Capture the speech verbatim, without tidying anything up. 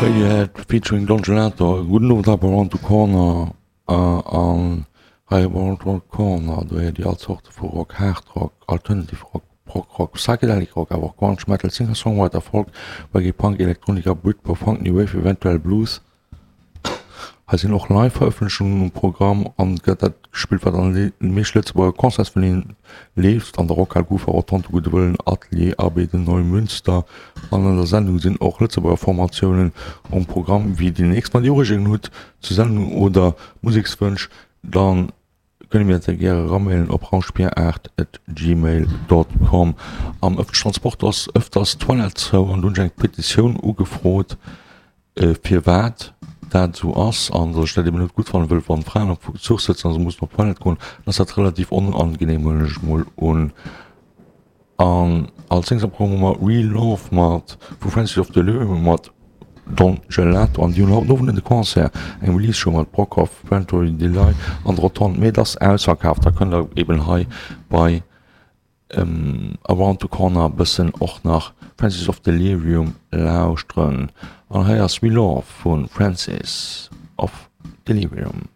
Radiohead featuring Don Gelato. Gudden Owend hei bei Round the Corner an hei bei Round the Corner do héiert Dir all Zorte vu Rock, Hard Rock, Alternative Rock, Prog Rock, Psychedelic Rock, awer och Grunge, Metal, Singer-Songwriter, Folk, Reggae, Punk, Elektronika, Britpop, Funk, New Wave, eventuell Blues. Hei sinn och Live-Verëffentlechungen um Programm an et gëtt dat gespillt, wat an de meescht Lëtzebuerger Concertsverleen leeft, an der Rockhal, Kufa, Rotonde, Gudde Wëllen, Atelier, A B de Neumünster. An an der Sendung sinn och Lëtzebuerger Formatiounen um Programm. Wéi déi nächst Mal Dir Ureegungen hutt zur Sendung oder Musekswënsch, dann kënnt mir dat sehr gäre ramailen op rauschbier aacht at gmail dot com. Am ëffentlechen Transport ass ëfters d'Toilette zou an do hunn ech eng Petitioun ugefrot, firwat dat esou ass an datt ech dat eben net gutt fannen, wëll wann Fraen am Zuch sëtzen a se mussen op d'Toilette goen, dann ass dat relativ onangenehm, huelen ech mol un. An als nächst am Programm hu mer Real Love mat vu Francis of Delirium mat Don Gelato an déi hunn haut den Owend de Concert, eng Release Show mat Brockhoff, Ventory Delay an Rotonde, mee et ass ausverkaaft. Da kënnt der eben hei bei Around the Corner bëssen och nach Francis of Delirium lauschteren. An hei ass We Love vu Francis of Delirium.